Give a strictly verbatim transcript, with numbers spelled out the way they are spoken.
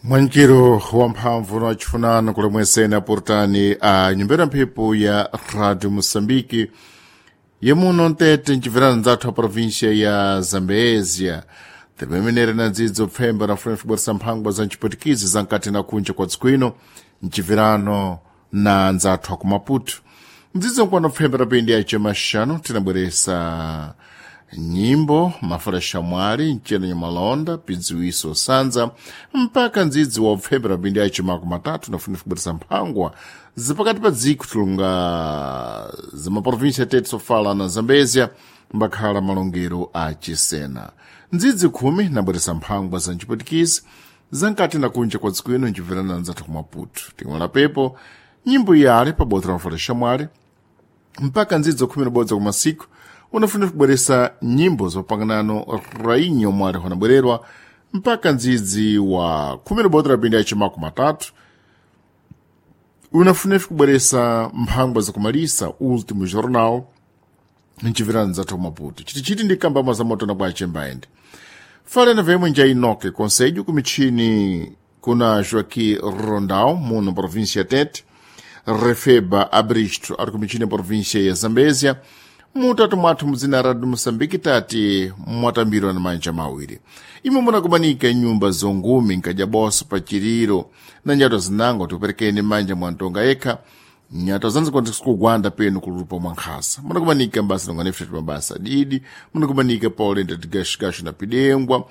Mwankiro wamphamvu na wachifunano kulemwesena portani a nyumbera mphepo ya Radio Moçambique yemuno ntete ncibverana ndzathu a província ya Zambézia timemenere na ndzidzo pfemba na funa fubweresa mphangwa za ncipwetikizi za nkati na kunja kwa dziko ino ncibverano na ndzathu aku Maputo ndzidzo nkwano pfemba rapindi ya cemaxanu tinabweresa nyimbo mafala mwali mceno nyamalonda pidziwiso sanza mpaka ndzidzi wa upfembera pindi ya chimako matatu nafuna kubweresa mphangwa zipakati pa dziko tilunga zamaprovinsia tete sofala na zambezia mbakhala malongero a chisena ndzidzi khumi nabweresa mphangwa za ncipwetikizi zankati na kunja kwa dziko ino ncibverana ndzathu ku Maputo timwela pepo nyimbo iyale pabodzi la mafala xamwali mpaka ndzidzo khumi nabodzi kumasiku unafuna kubweresa nyimbo zopanganano rainha omwe ali wanabwererwa mpaka ndzidzi wa khumi nabodzi rapindi ya chimako matatu unafuna kubweresa mphangwa zakumalisa último jornal ncibvirana ndzathu Maputo chitichiti ndi kambama za motona kwa chembaende falena vemwe nja inoke conselho kumichini kuna Joaquim Rondão muno província ya Tete Refeba Abristo ari kumichini província ya Zambézia mutatu mwathu muzina Radio Moçambique tati mwatambirwa na manja mawiri imwe munakumanika nyumba zongumi nkajaboso pa chiriro na nyato zinango tiuperekeni manja mwa ntonga yekha nyato zanzikugwanda penu kulupa mwa nkhasa munakumanika mbasa nonganefutati mabasa didi munakumanika paulenda tigashigashu na pidengwa